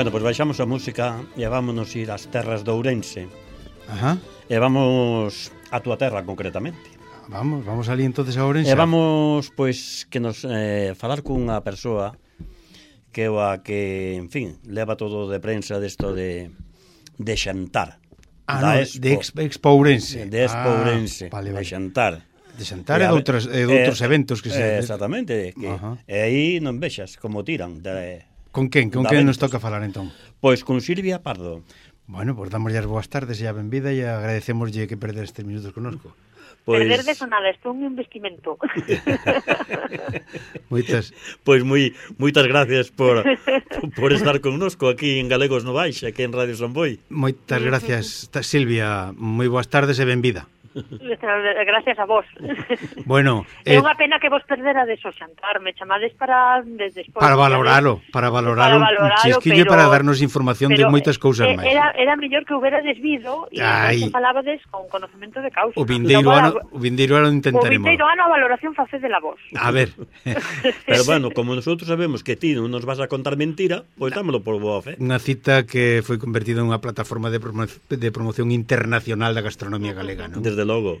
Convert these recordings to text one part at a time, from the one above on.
Bueno, pois baixamos a música e vámonos ir ás terras de Ourense. Ajá. E vamos a túa terra concretamente. Vamos ali entonces a Ourense. E vamos, pois, que nos falar cunha persoa que é a que, en fin, leva todo de prensa desto de xantar. No, de Expo Ourense. De Expo Ourense, vale. de xantar. De xantar e de outros eventos que se... Exactamente, que e aí non vexas como tiran. Con quen? Con quen nos toca falar entón? Pois con Silvia Pardo. Bueno, pois damoslle as boas tardes e a benvida e agradecémoslle que perder estes minutos connosco. Perder de sonada, isto é un investimento. Moitas gracias por estar connosco aquí en Galegos no Baixa, aquí en Radio Samboy. Moitas gracias, Silvia. Moi boas tardes e benvida. Gracias a vos. Bueno, é unha pena que vos perderades o xantar. Me chamades para despois para valoralo un chisquiño, pero, para darnos información de moitas cousas máis. Era mellor que houberades vido e que falabades con conocemento de causa. O vindeiro ano intentaremos. O vindeiro ano a valoración facedela vos. A ver. Pero bueno, como nosotros sabemos que ti non nos vas a contar mentira, pois dámelo por boa fe. Unha cita que foi convertida en unha plataforma de promoción internacional da gastronomía galega, non? Desde logo.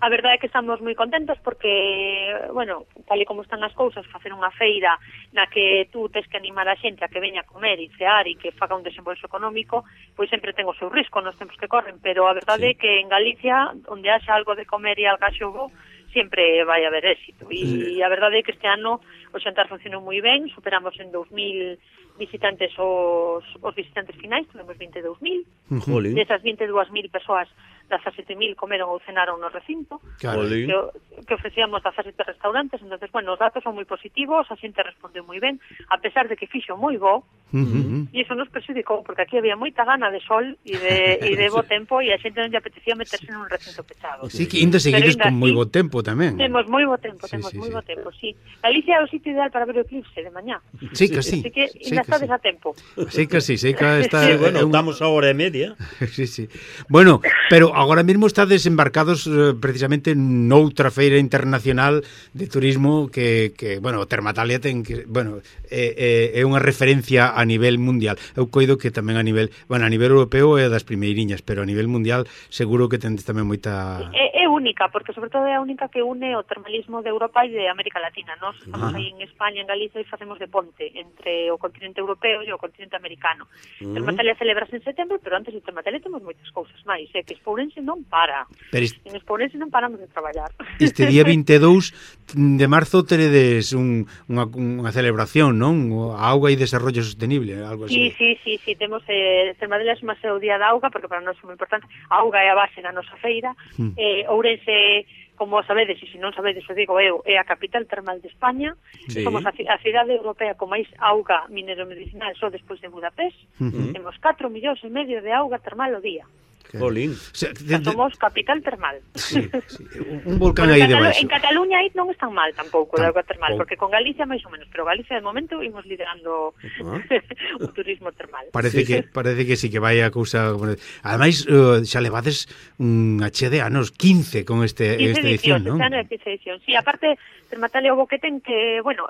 A verdade é que estamos moi contentos porque, bueno, tal e como están as cousas, facer unha feira na que tú tes que animar a xente a que veña a comer e cear e que faga un desembolso económico, pois sempre ten o seu risco nos tempos que corren, pero a verdade é que en Galicia, onde haxa algo de comer e algaxogo, sempre vai haber éxito. E a verdade é que este ano o xantar funcionou moi ben, superamos en 2000 visitantes os visitantes finais, tuvemos 22.000. Desas 22.000 persoas, 17.000 comeron ou cenaron no recinto, que ofrecíamos 17 restaurantes. Entonces, bueno, os datos son moi positivos, a xente respondeu moi ben, a pesar de que fixo moi bo, e iso nos perxudicou, porque aquí había moita gana de sol e de bo tempo, e a xente non lle apetecía meterse nun recinto pechado. Sí, que ainda seguides con moi bo tempo tamén. Temos moi bo tempo, moi bo tempo, sí. Galicia é o sitio ideal para ver o eclipse de mañá. Sí que sí. Así que ainda estades a tempo. Sí que sí, está... bueno, estamos a hora e media. Sí. Bueno, pero agora mesmo estades embarcados precisamente noutra feira internacional de turismo que bueno, Termatalia ten que, bueno, é unha referencia a nivel mundial. Eu coido que tamén a nivel europeo é das primeiriñas, pero a nivel mundial seguro que tendes tamén moita... É única, porque sobre todo é a única que une o termalismo de Europa e de América Latina. Nós estamos aí en España, en Galicia, e facemos de ponte entre o continente europeo e o continente americano. Termatalia celebrase en setembro, pero antes de Termatalia temos moitas cousas máis, que Expo Ourense non para. En Expo Ourense non paramos de traballar. Este día 22 de marzo teredes unha celebración, non? A auga e desarrollo sostenible, algo así. Sí, temos Termatalia é o día da auga, porque para nós é moi importante. A auga é a base da nosa feira. Ourense, como sabedes, e se non sabedes, o digo eu, é a capital termal de España. Somos a cidade europea con máis auga mineromedicinal só despois de Budapest. Temos 4,5 millóns de auga termal ao día. Jolín. Somos capital termal. Sí. Un volcán aí debaixo. En Cataluña aí non están mal tampouco de auga termal, porque con Galicia máis ou menos, pero Galicia de momento imos liderando o turismo termal. Parece que sí que vai a cousa. Ademais, xa levades unha chea de anos, 15 con esta edición, non? 15 edición. Sí, aparte Termatalia o que ten que, bueno,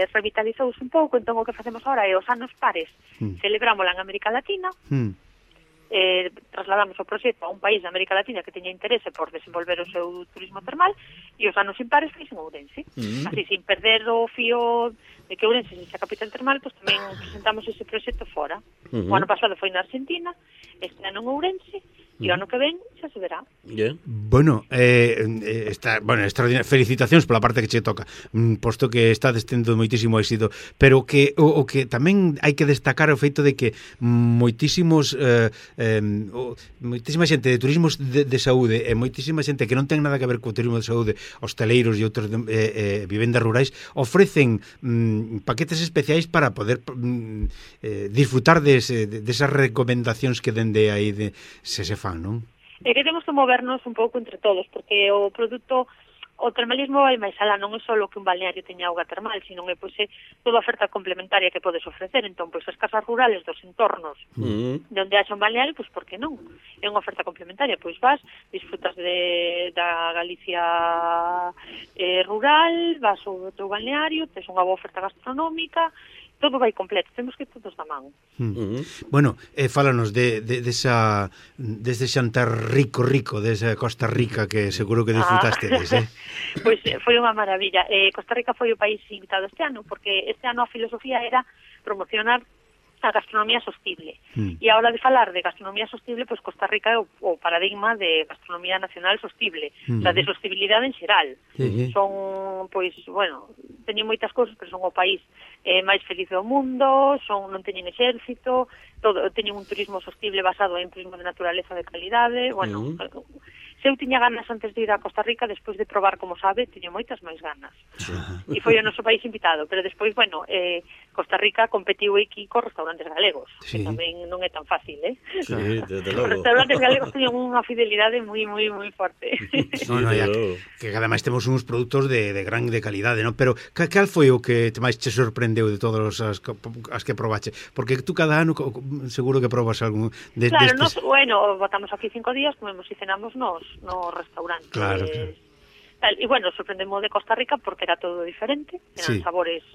revitalizouse un pouco, entón o que facemos agora é os anos pares. Celebrámola en América Latina. Trasladamos o proxecto a un país de América Latina que teña interese por desenvolver o seu turismo termal, e os anos impares fixen Ourense. Así, sin perder o fío de que Ourense sexa capital termal, pues tamén presentamos ese proxecto fora. O ano pasado foi na Argentina, este ano en Ourense, e o ano que ven xa se verá. Bueno, extraordinario. Felicitacións pola parte que che toca, posto que está tendo moitísimo éxito, pero que o que tamén hai que destacar o feito de que moitísima xente de turismos de saúde e moitísima xente que non ten nada que ver co turismo de saúde, hosteleiros e outros vivendas rurais, ofrecen paquetes especiais para poder disfrutar desas recomendacións que dende aí se fan, non? É que temos que movernos un pouco entre todos, porque o produto, o termalismo vai máis alá, non é só que un balneario teña auga termal, sino é toda a oferta complementaria que podes ofrecer. Entón, as casas rurales dos entornos onde haxa un balneario, por que non? É unha oferta complementaria, vas, disfrutas da Galicia rural, vas ao teu balneario, tes unha boa oferta gastronómica, todo vai completo, temos que ir todos da man. Bueno, fálanos dese xantar rico desa Costa Rica que seguro que disfrutastedes, Pois foi unha maravilla. Costa Rica foi o país invitado este ano, porque este ano a filosofía era promocionar a gastronomía sostible. E a hora de falar de gastronomía sostible, pois Costa Rica é o paradigma de gastronomía nacional sostible, o sea, de sostibilidade en xeral. Son, pois, bueno, teñen moitas cousas, pero son o país máis feliz do mundo, non teñen exército, teñen un turismo sostible basado en turismo de naturaleza de calidade, bueno, se eu tiña ganas antes de ir a Costa Rica, despois de probar, como sabe, tiño moitas máis ganas. E foi o noso país invitado, pero despois, bueno, Costa Rica competiu aquí cos restaurantes galegos, que tamén non é tan fácil, Sí, desde logo. Os restaurantes galegos teñen unha fidelidade moi forte. Que ademais temos uns produtos de grande calidade, non? Pero cal foi o que máis che sorprendeu de todas as que probache? Porque tú cada ano seguro que probas algún Claro, destes. bueno, botamos aquí 5 días, comemos e cenamos nos restaurantes. Claro. E bueno, sorprendemos de Costa Rica porque era todo diferente, eran sabores,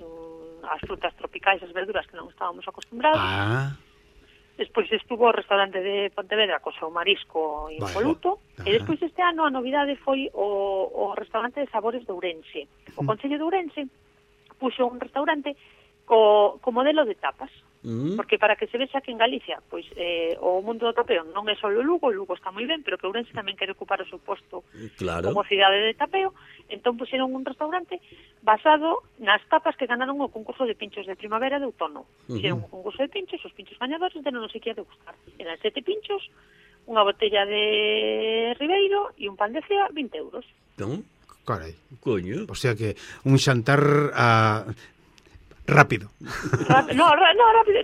as frutas tropicais, as verduras que non estábamos acostumbrados. Despois estuvo o restaurante de Pontevedra co seu marisco impoluto, e despois este ano a novidade foi o restaurante de sabores de Ourense. O Concello de Ourense puxo un restaurante co modelo de tapas. Porque para que se vexa que en Galicia pois o mundo do tapeo non é só o Lugo está moi ben, pero que Ourense tamén quere ocupar o seu posto como cidade de tapeo, entón puxeron un restaurante basado nas tapas que ganaron o concurso de pinchos de primavera de outono. Fixeron un concurso de pinchos, os pinchos gañadores deron non sei que a degustar. Eran 7 pinchos, unha botella de Ribeiro e un pan de cea, 20 euros. Carai. Coño. O sea que un xantar rápido. Rápido.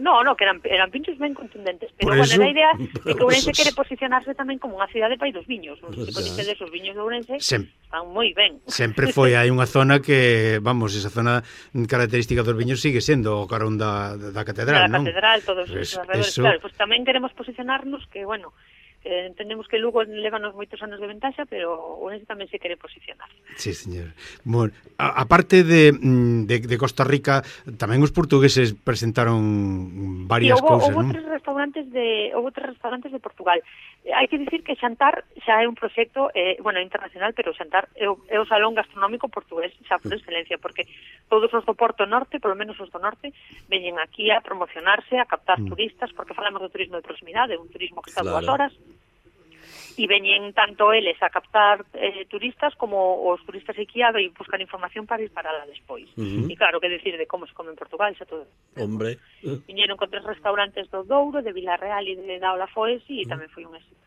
No, que eran pinchos ben contundentes. Pero, bueno, a idea é que Ourense quere posicionarse tamén como unha cidade pai dos viños. Non sei se coñecedes os viños de Ourense, están moi ben. Sempre foi, hai unha zona que, vamos, esa zona característica dos viños sigue sendo o carón da catedral, non? Da catedral, todos os arredores. Claro, pues tamén queremos posicionarnos que, bueno, entendemos que Lugo levanos moitos anos de ventaxa, pero Ourense tamén se quere posicionar. Sí, señor. Bueno, aparte de Costa Rica, tamén os portugueses presentaron varias cousas, non? Houve tres restaurantes de Portugal. Hai que dicir que Xantar xa é un proxecto, internacional, pero Xantar é o salón gastronómico portugués xa por excelencia, porque todos os do Porto Norte, polo menos os do Norte, veñen aquí a promocionarse, a captar turistas, porque falamos do turismo de proximidade, un turismo que está 2 horas, e veñen tanto eles a captar turistas como os turistas aquí a buscar información para ir para lá despois. E claro, que decir de como se come en Portugal, xa todo. Hombre. Viñeron con 3 restaurantes do Douro, de Vilarreal e de Daola Foesi, e tamén foi un éxito.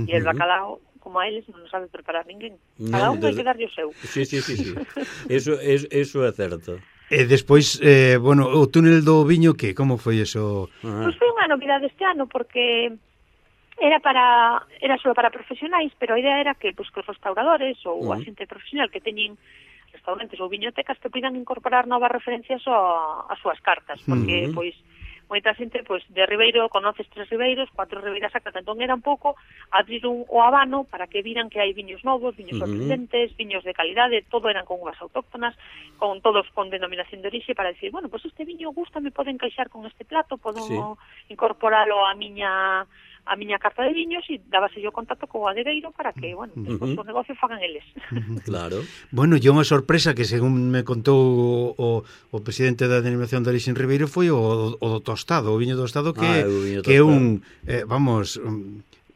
E el bacalao, como a eles, non sabe preparar ninguén. Cada un hai que darlle o seu. Sí. Eso é certo. E despois, bueno, o túnel do viño, que? Como foi eso? Pois foi unha novidade este ano, porque era só para profesionais, pero a idea era que os restauradores ou a xente profesional que teñen restaurantes ou viñotecas que pidan incorporar novas referencias ás súas cartas, porque pois moita xente pois de Ribeiro conoces 3 Ribeiros, 4 Ribeiras Sacras, entón era un pouco abrir o abano para que viran que hai viños novos, viños sorprendentes, viños de calidade, todo eran con uvas autóctonas, con todos con denominación de orixe, para decir, bueno, pois este viño gusta, me pode encaixar con este plato, podo incorporalo a miña carta de viños, e dábase yo contacto co adegueiro para que, bueno, despois o negocio fagan eles. Claro. Bueno, e unha sorpresa que, según me contou o presidente da Denominación de Orixe en Ribeiro, foi o do tostado, o viño do tostado, que é un, vamos,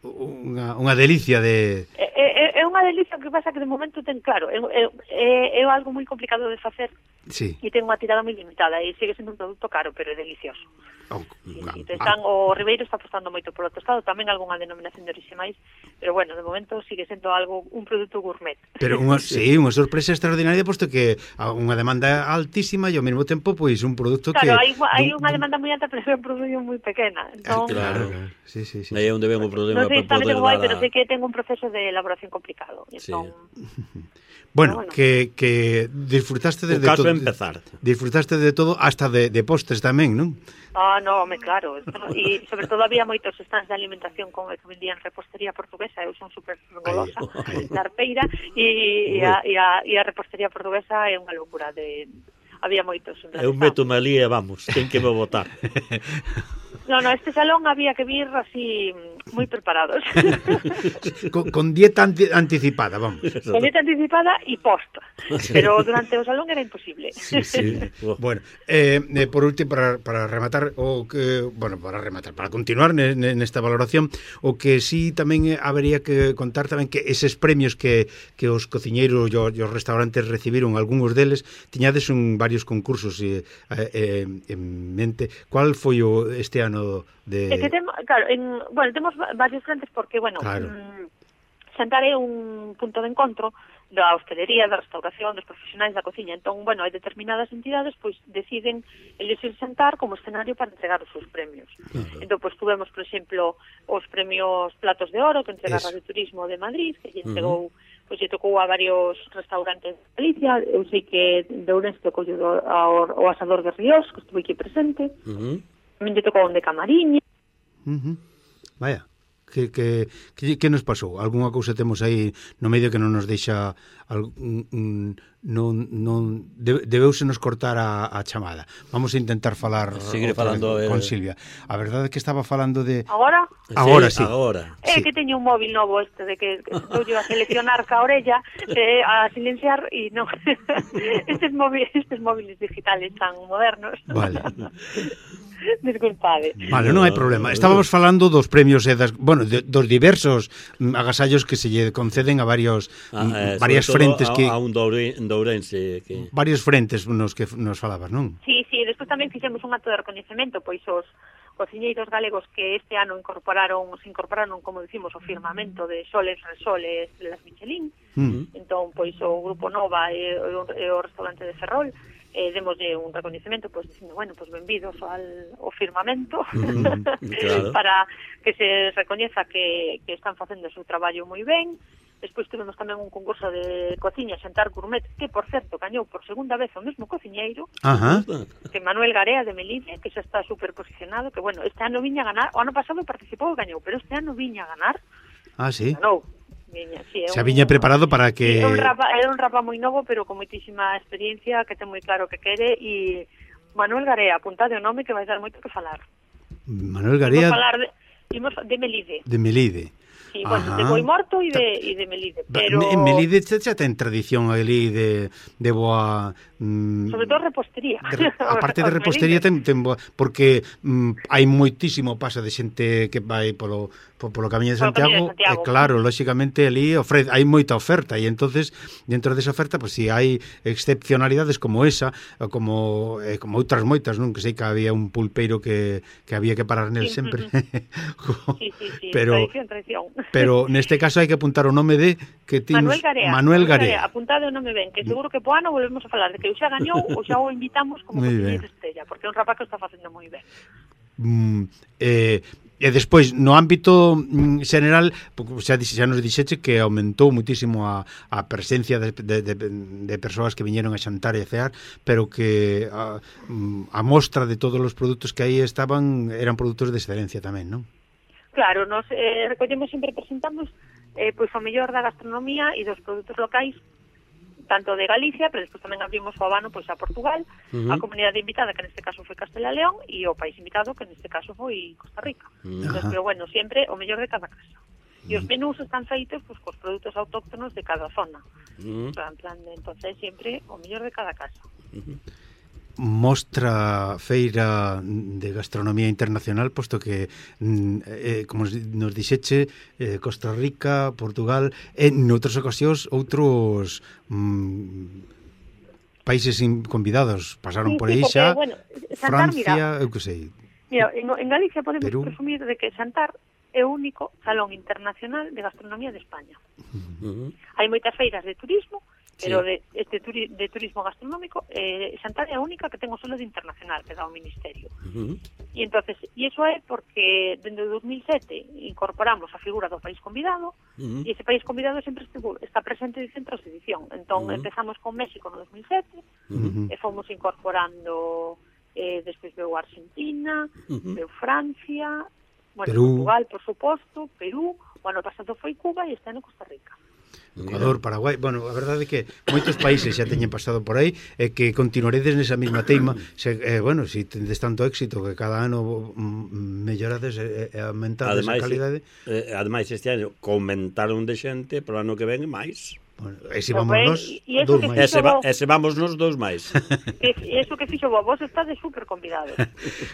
unha delicia de... É unha delicia, que pasa que de momento ten, claro, é algo moi complicado de facer, e ten unha tirada moi limitada, e sigue sendo un produto caro, pero é delicioso. O Ribeiro está apostando moito polo tostado, tamén algunha denominación de orixe máis, pero bueno, de momento sigue sendo un produto gourmet. Pero unha sorpresa extraordinaria, posto que unha demanda altísima e ao mesmo tempo pois un produto que... Claro, hai unha demanda moi alta, pero é un produto moi pequena. Entón, claro. Sí. Aí é onde ven o problema para poder dar pero sei que ten un proceso de elaboración complicado. Entón... Bueno, que disfrutaste de todo. O caso é empezar. Disfrutaste de todo, hasta de postres tamén, non? No, claro. E sobre todo había moitos stands de alimentación con que vendían repostería portuguesa. Eu son super golosa da arpeira, e a repostería portuguesa é unha locura de... había moitos. Eu meto-me ali e vamos, ten que me votar. No, este salón había que vir así moi preparados. con dieta anticipada, vamos. Con dieta anticipada e posta. Pero durante o salón era imposible. Sí. Bueno, por último, para rematar, para continuar nesta valoración, o que sí tamén habería que contar tamén que eses premios que os cociñeiros e os restaurantes recibiron, algúns deles, tiñades varios concursos en mente. Cual foi este ano de... temos varios frentes porque, claro. Xantar é un punto de encontro da hostelería, da restauración, dos profesionais da cociña. Entón, hai determinadas entidades pois deciden elegir xantar como escenario para entregar os seus premios. Entón, tuvemos, por exemplo, os premios Platos de Oro que entrega a Radio Turismo de Madrid, que lle entregou, lle tocou a varios restaurantes de Galicia. Eu sei que de Ourense tocou ao Asador de Ríos, que estuve aquí presente. Tamén lle tocou de Camariña. Vaya, que nos pasou? Algúnha cousa temos aí no medio que non nos deixa debeuse nos cortar a chamada. Vamos a intentar falar con Silvia. A verdade é que estaba falando de... Agora? Agora sí. Que teño un móvil novo de que estou a seleccionar ca orella, a silenciar e non. Estes móviles digitales tan modernos. Vale. Disculpade. Vale, non hai problema. Estábamos falando dos premios e dos diversos agasallos que se lle conceden a varias frentes que a un dourense que varios frentes nos que nos falabas, non? Sí, despois tamén fixemos un acto de recoñecemento, pois os cociñeiros galegos que este ano se incorporaron, como dicimos, o firmamento de Soles Resoles de las Michelin. Entón, pois o Grupo Nova e o restaurante de Ferrol demoslle un recoñecemento, dicindo, benvidos ao firmamento, claro. Para que se recoñeza que están facendo o seu traballo moi ben. Despois tivemos tamén un concurso de cociña Xantar Gourmet, que, por certo, gañou por segunda vez o mesmo cociñeiro, que Manuel Garea de Melide, que xa está superposicionado, que, este ano viña a ganar, o ano pasado participou e gañou, pero este ano viña a ganar. Sí? Ganou. Xa viña preparado para que... Era un rapa moi novo, pero con moitísima experiencia, que ten moi claro que quere, e Manuel Garea, apuntade o nome que vai dar moito que falar. Manuel Garea... Imos de Melide. De Melide. Sí, de Boimorto e de Melide, pero... En Melide xa ten tradición ali de boa... sobre todo repostería. A parte de repostería ten boa... Porque hai moitísimo pasa de xente que vai polo Camiño de Santiago, e claro, lóxicamente ali hai moita oferta, e entonces dentro desa oferta, si hai excepcionalidades como esa, como outras moitas, non? Que sei que había un pulpeiro que había que parar nel sempre. Sí, tradición. Pero neste caso hai que apuntar o nome de que Manuel Garea. Apuntade o nome ben, que seguro que po ano volvemos a falar de que o xa gañou ou xa o invitamos como cociñeiro estrella, porque é un rapaz que o está facendo moi ben. E despois, no ámbito xeneral, xa nos dixeche que aumentou muitísimo a presencia de persoas que viñeron a xantar e a cear, pero que a mostra de todos os produtos que aí estaban eran produtos de excelencia tamén, non? Claro, nos recollemos sempre, presentamos o mellor da gastronomía e dos produtos locais, tanto de Galicia, pero despois tamén abrimos o abano a Portugal, a comunidade invitada, que neste caso foi Castela e León, e o país invitado, que neste caso foi Costa Rica. Entonces, pero sempre o mellor de cada casa. E os menús están feitos cos produtos autóctonos de cada zona. Entonces, sempre o mellor de cada casa. Mostra feira de gastronomía internacional, posto que como nos dixeche, Costa Rica, Portugal e noutras ocasións outros países convidados pasaron por aí xa, Francia, eu que sei. Mira, en Galicia podemos presumir de que Xantar é o único salón internacional de gastronomía de España. Hai moitas feiras de turismo, pero de turismo gastronómico, Xantar é a única que ten o selo de internacional que dá o Ministerio. E entonces, iso é porque dende 2007 incorporamos a figura do país convidado, e ese país convidado sempre está presente en centros de edición. Entón, empezamos con México no 2007, e fomos incorporando, despois veu Argentina, veu Francia, Portugal, por suposto, Perú, o ano pasado foi Cuba e este ano Costa Rica. Ecuador, Paraguai, bueno, a verdade é que moitos países xa teñen pasado por aí e que continuaredes nesa mesma teima, bueno, se tendes tanto éxito que cada ano mellorades e aumentades a calidade. Ademais, este ano comentaron de xente, pro ano que ven máis. Bueno, e se vamos nos dous máis. E se vamos nos dous máis. Eso que fixo vos estades super convidados.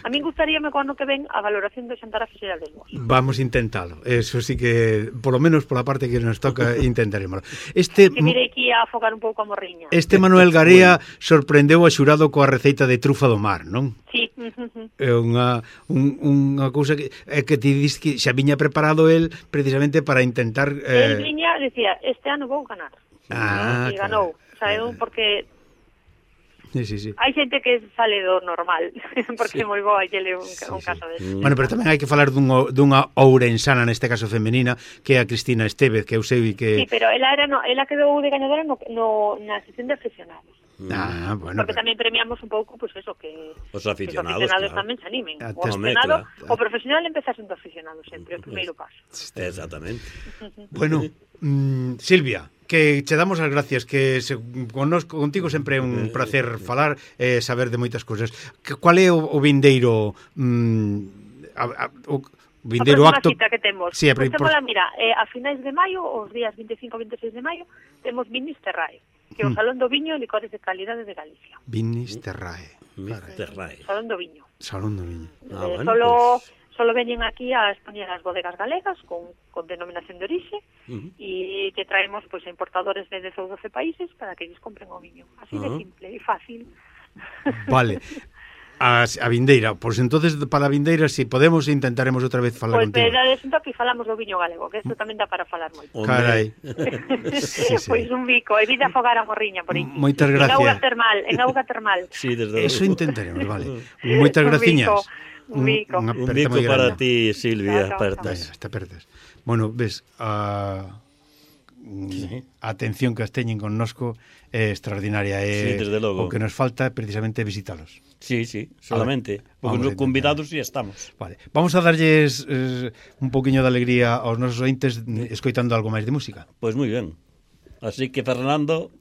A min gustaríame co ano que ven a valoración do xantar a fixerades vos. Vamos a intentalo. Eso sí que, polo menos pola parte que nos toca, intentaremos. Que mirei que ia afogar un pouco a morriña. Manuel Garea sorprendeu a xurado coa receita de trufa do mar, non? Sí. É unha cousa que ti dis que xa viña preparado el precisamente para intentar... El viña, decía, este ano vou ganar. E ganou, sabe, porque sí. hai xente que sale do normal, porque moi boa e lle un caso desse. Bueno, pero tamén hai que falar dunha ourensana, neste caso femenina, que é a Cristina Estevez, que eu sei que... Sí, pero ela quedou de gañadora na sesión de aficionados. Bueno, porque tamén premiamos un pouco, pues eso, que os aficionados claro. Tamén se animen. O aficionado, o profesional empeza sendo aficionado sempre, o primeiro paso. Exactamente. Bueno, Silvia, que che damos as gracias, que contigo sempre é un placer falar e saber de moitas cousas. Qual é o vindeiro vindeiro acto que temos? Sí, pues mira, a finais de maio, os días 25 e 26 de maio, temos Vinis Terrae, que é o Salón do Viño e Licores de Calidade de Galicia. Vinis Terrae. Salón do Viño. Solo veñen aquí a expoñer as bodegas galegas con denominación de orixe e te traemos a importadores de 10 ou 12 países para que eles compren o viño. Así de simple e fácil. Vale. A vindeira, pois entonces para a vindeira, si podemos, intentaremos outra vez falar contigo. Pois aquí falamos do viño galego, que isto tamén dá para falar moito. Carai. Pois un bico, evita afogar a morriña por aí. Moitas gracias. En auga termal. Sí, desde eso intentaremos, vale. Moitas graciñas. Un bico para ti, Silvia. Está perdas. Bueno, ves, a atención que as teñen connosco é extraordinaria. O que nos falta precisamente visitalos. Sí, solamente. Porque convidados si estamos. Vale. Vamos a darlles un poquinho de alegría aos nosos ointes escoitando algo máis de música. Pois moi ben. Así que, Fernando...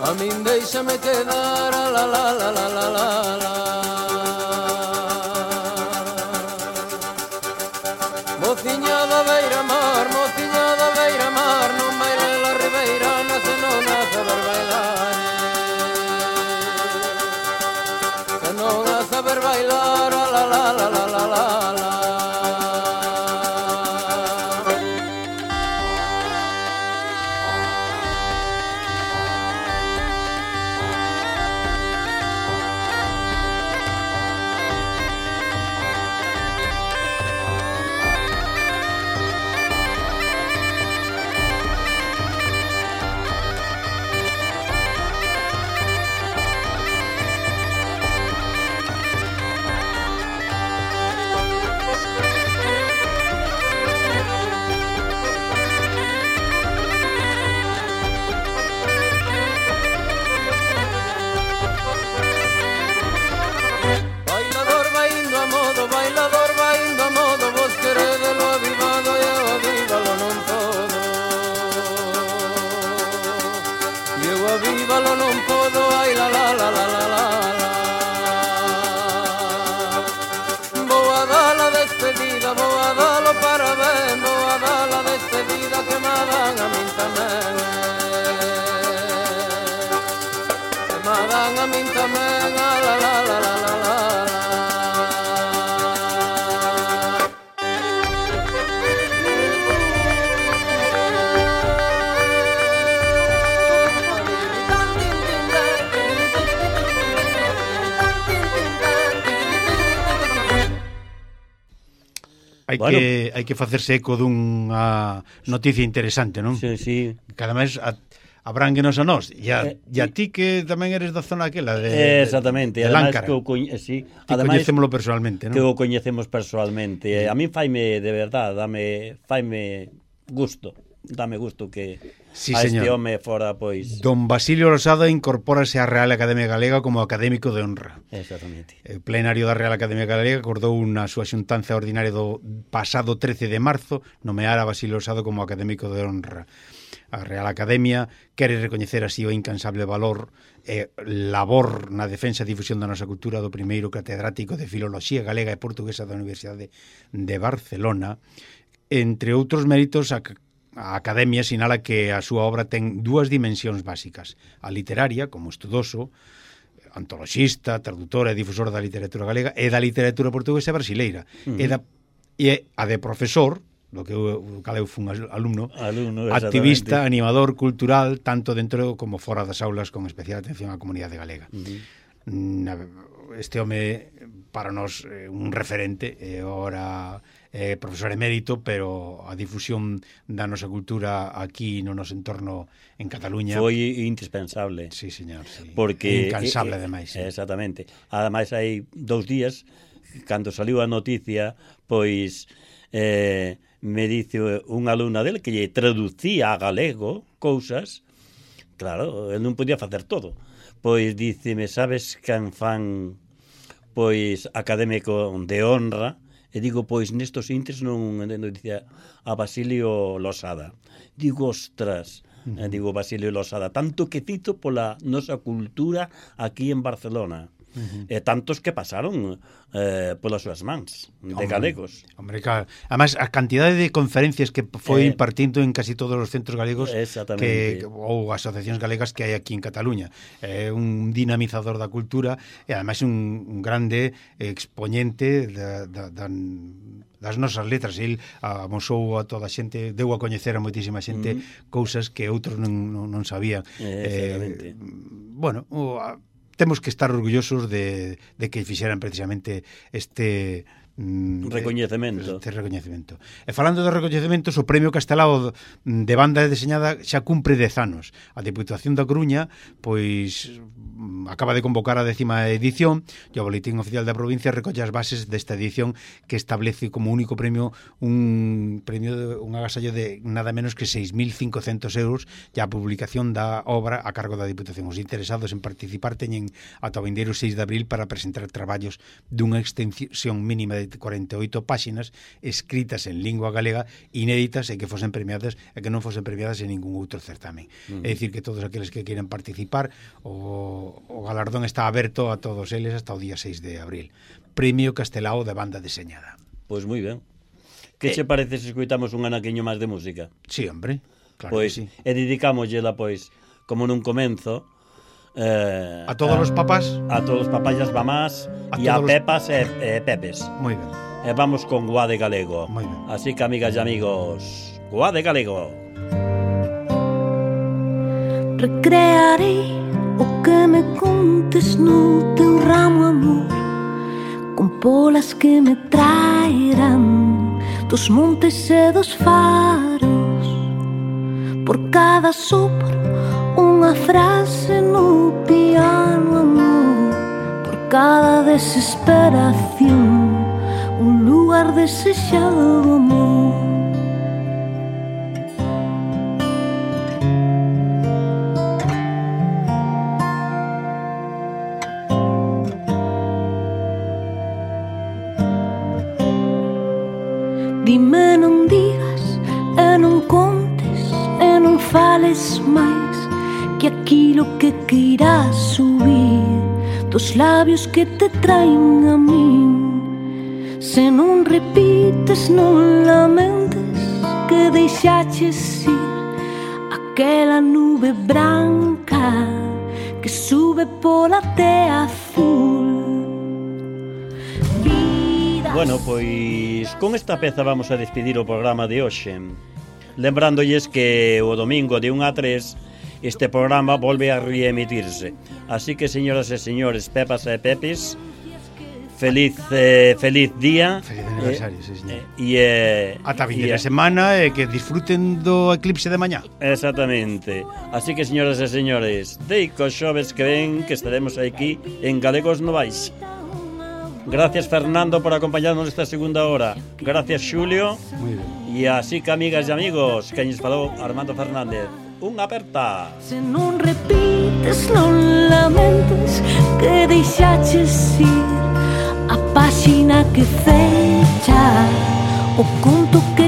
A min deixame quedar, la la la la la la la. Mociña da beira-mar, non baile la ribeira, nace non nace ver bailar. Que non nace ver bailar, la la la la la la la. Hai que facerse eco dunha noticia interesante, non? Sí, sí. Cada mes abránguenos a nós. E a ti que tamén eres da zona aquela de exactamente, de ademais Láncara. sí, Ti coñecémolo personalmente, non? Que o coñecemos personalmente. A min faime, de verdad, faime gusto. Dame gusto que sí, a señor. este home fora, pois... Don Basilio Losada incorpórase á Real Academia Galega como académico de honra. Exactamente. O plenario da Real Academia Galega acordou na súa xuntanza ordinaria do pasado 13 de marzo nomear a Basilio Losada como académico de honra. A Real Academia quere recoñecer así o incansable valor e labor na defensa e difusión da nosa cultura do primeiro catedrático de Filoloxía Galega e Portuguesa da Universidade de Barcelona. Entre outros méritos, a Academia sinala que a súa obra ten dúas dimensións básicas. A literaria, como estudoso, antoloxista, traductor e difusor da literatura galega e da literatura portuguesa e brasileira. E a de profesor, do que eu fun alumno, activista, animador cultural, tanto dentro como fora das aulas, con especial atención á comunidade galega. Este home para nós un referente, e ora profesor emérito, pero a difusión da nosa cultura aquí no noso entorno en Cataluña foi indispensable. Sí, señor, sí. Porque incansable, ademais. Sí. Exactamente. Ademais, hai 2 días, cando saliu a noticia, pois me dice unha alumna del que lle traducía a galego cousas. Claro, el non podía facer todo. Pois díceme, sabes quen fan pois académico de honra? E digo, pois nestos intres non entendo, dicía a Basilio Losada. Digo, ostras, digo Basilio Losada, tanto que cito pola nosa cultura aquí en Barcelona. E tantos que pasaron polas súas mans de galegos. Hombre, claro. Además, a cantidade de conferencias que foi impartindo en casi todos os centros galegos ou asociacións galegas que hai aquí en Cataluña. É un dinamizador da cultura e ademais un grande expoñente das nosas letras. El amosou a toda a xente, deu a coñecer a moitísima xente cousas que outros non sabían. Bueno, temos que estar orgullosos de que fixeran precisamente este recoñecemento. E falando de recoñecementos, o Premio Castelao de banda deseñada xa cumpre 10 anos. A Diputación da Coruña pois acaba de convocar a 10ª edición e o Boletín Oficial da Provincia recolle as bases desta edición que establece como único premio un agasallo de nada menos que 6.500 euros e a publicación da obra a cargo da Diputación. Os interesados en participar teñen ata o vindeiro 6 de abril para presentar traballos dunha extensión mínima de 48 páxinas escritas en lingua galega, inéditas e que fosen premiadas e que non fosen premiadas en ningún outro certamen. É dicir, que todos aqueles que queiran participar, o galardón está aberto a todos eles hasta o día 6 de abril. Premio Castelao de banda deseñada. Pois moi ben. Que che parece se escoitamos un anaquiño máis de música? Sí, hombre, claro pois, que sí. E dedicámoslla, pois, como nun comenzo, a todos os papás, a todos os papás e as mamás, e a pepas e pepes. Moi ben. E vamos con Guade Galego. Moi ben. Así que, amigas e amigos, Guade Galego. Recrearei o que me contes no teu ramo, amor, con polas que me traerán dos montes e dos faros. Por cada sopro unha frase no piano, amor. Por cada desesperación un lugar desexado, amor. Dime non digas e non contes e non fales máis, que aquilo que queirás subir dos labios que te traen a min. Se non repites, non lamentes que deixaches ir aquela nube branca que sube pola tea azul. Bueno, pois con esta peza vamos a despedir o programa de hoxe. Lembrándoles que o domingo de 1 a 3 este programa volve a reemitirse. Así que, señoras e señores, pepas e pepes, feliz día. Feliz aniversario, sí, señor. E ata a vindeira semana e que disfruten do eclipse de mañá. Exactamente. Así que, señoras e señores, deico xoves que ven que estaremos aquí en Galegos Novais. Gracias, Fernando, por acompañarnos esta segunda hora. Gracias, Xulio. Muy bien. E así que, amigas e amigos, que nos falou Armando Fernández. Unha aperta. Se non repites, non lamentes que deixaches ir a páxina que fecha o conto que